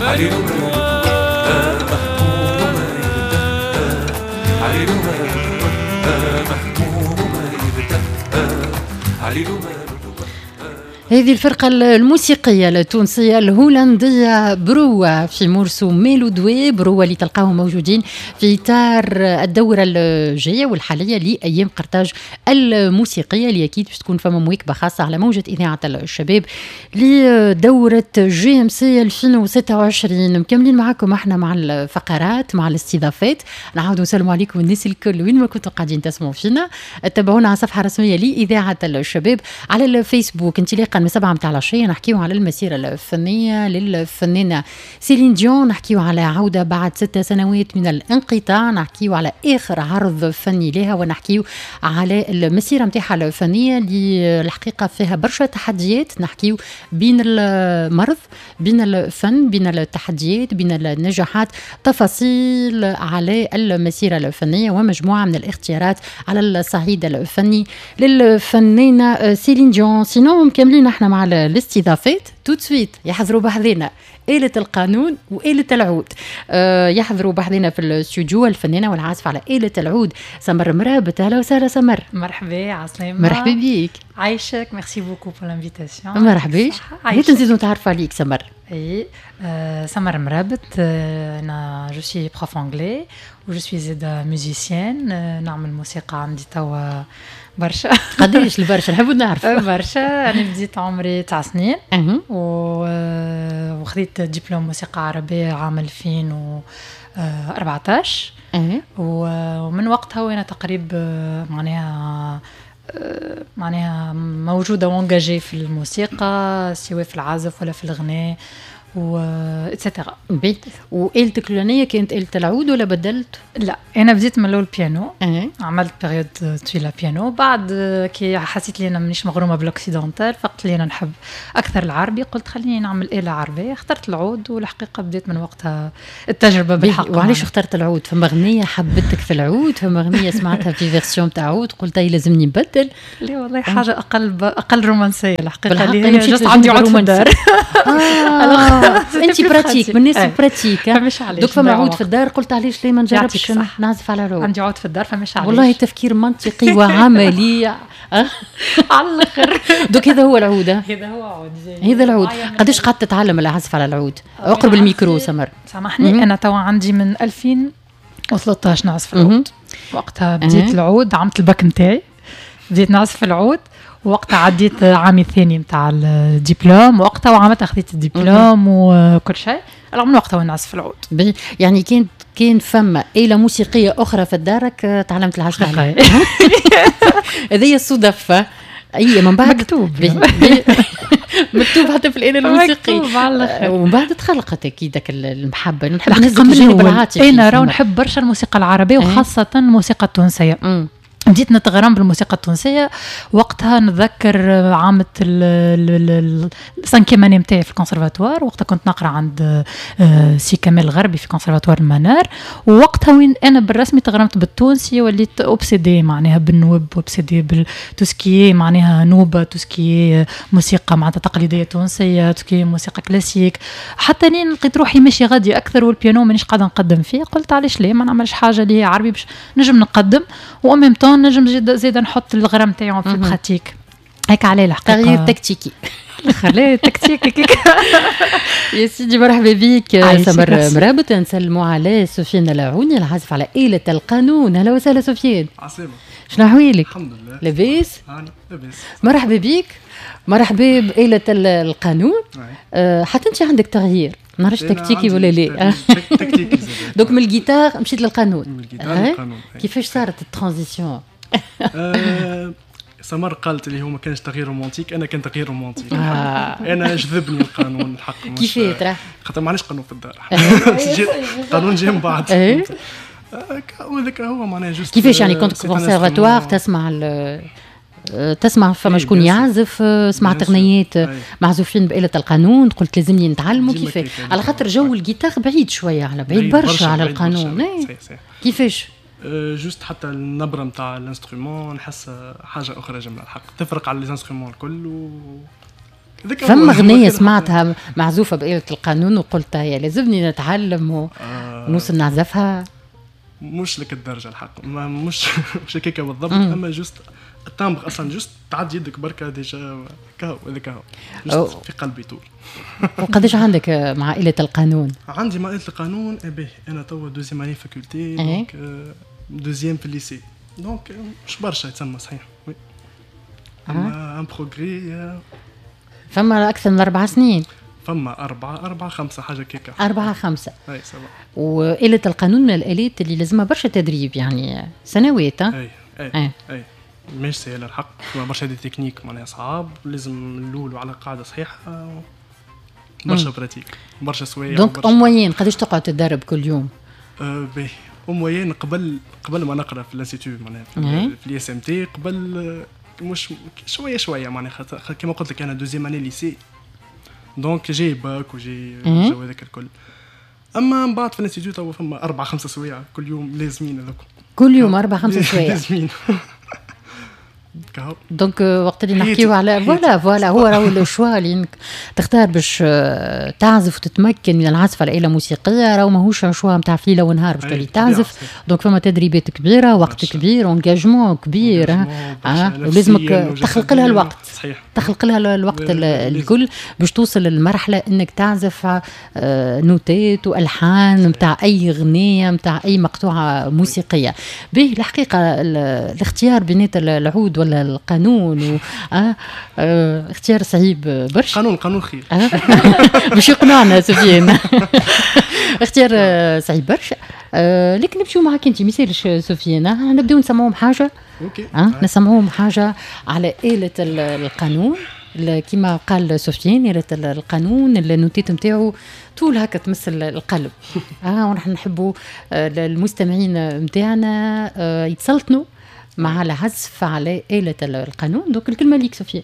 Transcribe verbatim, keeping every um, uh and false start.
عليلو ماله مهموم وما يرتاح، عليلو ماله مهموم وما يرتاح، عليلو ماله. هذه الفرقة الموسيقية التونسية الهولندية بروا في morceau ميلو دوي. بروا اللي تلقاهم موجودين في إطار الدورة الجاية والحالية لأيام قرطاج الموسيقية، اللي أكيد باش تكون فما مواكبة خاصة على موجة إذاعة الشباب لدورة JMC ألفين وستة وعشرين. مكملين معكم احنا مع الفقرات مع الاستضافات. نعاودوا نسلموا عليكم الناس الكل وين ما كنتوا قاعدين تسمعوا فينا. تابعونا على الصفحة الرسمية لإذاعة الشباب على الفيسبوك. انطلاقا من سبعة متاع العشية نحكيو على المسيرة الفنية للفنانة سيلين ديون، نحكيو على عودة بعد ست سنوات من الانقطاع، نحكيو على آخر عرض فني لها، ونحكيو على المسيرة متاعها الفنية اللي الحقيقة فيها برشا تحديات. نحكيو بين المرض، بين الفن، بين التحديات، بين النجاحات، تفاصيل على المسيرة الفنية ومجموعة من الاختيارات على الصعيد الفني للفنانة سيلين ديون. sinon مكملين احنا مع الاستضافات tout de suite. يحضروا بحذنا آلة القانون وآلة العود. أه يحضروا بحذنا في الاستوديو الفنانة والعازفة على آلة العود سمر مرابط. أهلا وسهلا سمر. مرحبا، عسلامة. مرحبا بيك. عايشك، merci beaucoup pour l'invitation. مرحبا. هيا نزيدو نتعرفوا عليك سمر. اي آه سمر مرابط، آه انا je suis prof anglais و je suis زاده musicienne. آه نعمل موسيقى عندي توا برشا. قداش البرشا نحبوا نعرف؟ برشا. انا بديت عمري تسع سنين وخذيت دبلوم موسيقى عربية عام ألفين وأربعطاش، ومن وقتها وانا تقريبا معناها معناها موجودة و engagée في الموسيقى، سواء في العزف ولا في الغناء و et cetera. وآلتك الأولانية كانت آلة العود ولا بدلت؟ لا، أنا بديت من الأول بيانو. أه. عملت période طويلة بيانو، بعد كي حسيت لي أنا مانيش مغرومة بال occidental، فقت لي أنا نحب أكثر العربي، قلت خليني نعمل آلة عربية، اخترت العود، والحقيقة بديت من وقتها التجربة بالحق. وعلاش اخترت العود؟ فما غنية حبتك في العود، فما غنية سمعتها في version تاع عود قلت هي لازمني نبدل؟ لا والله، حاجة أقل أقل رومانسية الحقيقة، اللي هي juste عندي عود في الدار. آه. انت pratique، من الناس pratique. donc فما عود في الدار قلت علاش ليه ما نجربش نعزف على العود؟ عندي عود في الدار فمش علاش. والله تفكير منطقي وعملي على الاخر. donc هذا هو العود. هذا هو عود. هذا العود. قداش قعدت تتعلم العزف على العود؟ اقرب الميكرو سمر. سامحني، انا توا عندي من ألفين وثلاثطاش نعزف العود. وقتها بديت العود، عملت الباك نتاعي بديت نعزف العود، وقتها عديت عامي الثاني نتاع الدبلوم، وقتها وعملت خذيت الدبلوم وكل شيء. من وقتها وانا نعزف العود. يعني كان كان فما آلة موسيقية أخرى في دارك تعلمت العزف عليها؟ هذه الصدفة. أي من بعد مكتوب بي بي مكتوب حتى في الآلة الموسيقية. مكتوب على الآخر. ومن بعد تخلقت أكيد ذاك المحبة. نحب نهزك الجانب العاطفي. أنا راهو نحب برشا الموسيقى العربية وخاصة الموسيقى التونسية. بديت نتغرم بالموسيقى التونسية وقتها. نتذكر عامة ال cinquième année نتاعي في الكونسرفاتوار، وقتها كنت نقرا عند سي كمال الغربي في كونسرفاتوار المنار، ووقتها وين انا بالرسمي تغرمت بالتونسي، وليت obsédée معناها بالنوب، obsédée بال tout ce qui est معناها نوبه، tout ce qui est موسيقى معناتها تقليدية تونسية، tout ce qui est موسيقى كلاسيك، حتى لين لقيت روحي ماشي غادي اكثر والبيانو مانيش قاعدة نقدم فيه. قلت علاش ليه ما نعملش حاجة اللي هي عربي باش نجم نقدم و même temps نجم زيد نحط الغرام تاعهم في ال pratique. هيك عليه الحقيقة تغيير تكتيكي. خليه تكتيكي. يا سيدي مرحبا بك سمر مرابط. نسلموا على سفيان العوني العازف على آلة القانون. اهلا وسهلا سفيان. عسلامة، شنو احوالك؟ الحمد لله لاباس. لاباس. مرحبا بك، مرحبا بآلة القانون. أه حتى انت عندك تغيير، ما نعرفش تكتيكي ولا لا. تكتيكي donc من الجيتار مشيت للقانون. من الجيتار للقانون. كيفاش صارت ال transition؟ سمر قالت اللي هو ما كانش تغيير romantique، انا كان تغيير romantique. آه. انا جذبني القانون الحق. كيفاه ترى؟ خاطر ما عندناش قانون في الدار. القانون جا من بعد. وهذاك هو معناها juste. كيفاش يعني كنت كونسيرفاتوار تسمع تسمع فما شكون يعزف، سمعت اغنيات معزوفين بآلة القانون، قلت لازمني نتعلموا كيفاه؟ على خاطر جو الجيتار بعيد شوية، على بعيد برشا على القانون. كيفاش؟ juste حتى النبرة نتاع ال instrument نحس حاجة اخرى جملة الحق، تفرق على les instruments الكل و فما غنية سمعتها معزوفة بآلة القانون وقلت يا لازمني نتعلم ونوصل نعزفها؟ مش لك الدرجة الحق، ما مش مش هكاك بالضبط، اما juste ال timbre اصلا juste تعدي يدك بركة déjà كهو، هذاك هو في قلبي طول. وقداش عندك مع آلة القانون؟ عندي مع آلة القانون باهي، انا توا deuxième année faculté، donc deuxième في ال lycée، donc مش برشا يتسمى صحيح، oui اما un progrès. فما اكثر من اربع سنين. فما أربعة أربعة خمسة حاجة كيكا. أربعة خمسة. أي سبعة. وآلة القانون من الآلات اللي لازمها برشا تدريب، يعني سنوات. أي أي أي, أي. مش سهلة الحق، فما برشا des techniques معناها صعاب، لازم اللول على قاعدة صحيحة، برشا pratique، برشا سوايع. donc en moyenne قداش تقعد تدرب كل يوم؟ أه باهي، en moyenne قبل قبل ما نقرا في l'institut معناها في l'ISMT قبل، مش شوية شوية معناها، كيما قلت لك انا deuxième année lycée، donc جاي باك وجاي الجو هذاك الكل. اما من بعد في l'institut تو فما اربع خمسة سوايع كل يوم لازمين هذوك. كل يوم اربع خمسة سوايع لازمين. donc وقت اللي نحكيو على voilà voilà هو راهو le choix اللي تختار باش آه، تعزف وتتمكن من العزف على آلة موسيقية، راهو ماهوش choix نتاع في ليلة ونهار باش تولي تعزف. donc فما تدريبات كبيرة، وقت كبير، engagement كبير، آه ولازمك تخلق لها الوقت. صحيح. تخلق لها الوقت الكل باش توصل للمرحلة انك تعزف آه، نوتات والحان نتاع اي غنية، نتاع اي مقطوعة موسيقية. به الحقيقة الاختيار بينات العود ولا القانون و... آه آه اختيار صعيب برشا. قانون قانون خير. آه باش يقنعنا سفيان، اختيار صعيب برشا، آه لكن نمشيو معاك انت ميسالش سفيان، آه نبداو نسمعوهم حاجه. OK. آه نسمعوهم حاجة على آلة القانون. كما قال سفيان، آلة القانون النوتيت نتاعو طول هكا تمس القلب، اه ونحن نحبوا آه، المستمعين نتاعنا آه يتسلطنوا مع العزف على آلة القانون. donc الكلمة ليك سفيان.